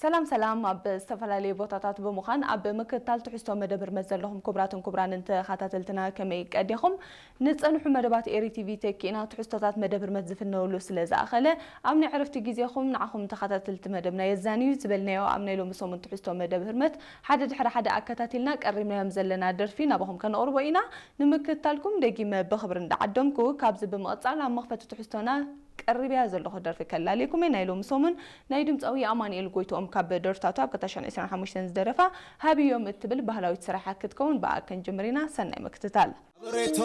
ሰላም ሰላም፣ ኣብ ዝተፈላለዩ ቦታታት ብምዃን ኣብ ምክትታል ትሕዝቶ መደብ ህርመት ዘለኹም ክቡራትን ክቡራንን ተኸታተልትና ከመይ ቀዲኹም? ንጸንሑ መደባት ኤሪ ቲቪ ተኪእና ትሕዝቶታት መደብ ህርመት ዝፍነውሉ ስለ ዝኣኸለ፣ ኣብ ናይ ዕረፍቲ ግዜኹም ንዓኹም ተኸታተልቲ መደብና የዛንዩ ዝበልናዮ ኣብ ናይ ሎሚ ሰሙን ትሕዝቶ መደብ ህርመት ሓደ ድሕሪ ሓደ ኣከታቲልና ቀሪብናዮም ዘለና ደርፊ ናባኹም ከነቕርቦ ኢና። ንምክትታልኩም ደጊመ ብኽብሪ እንዳዓደምኩ፣ ካብዚ ብምቕጻል ኣብ መኽፈቲ ትሕዝቶና ቀሪብያ ዘለኹ ደርፊ ከላልየኩም እየ። ናይ ሎሚ ሰሙን ናይ ድምጻዊ ኣማኑኤል ጎይትኦም ካብ ደርፍታቱ ኣብ ክልተ ሽሕን ዕስራን ሓሙሽተን ዝደረፋ ሃብዮም እትብል ባህላዊት ስራሕ ክትከውን ብኣ ክንጅምር ኢና። ሰናይ ምክትታል።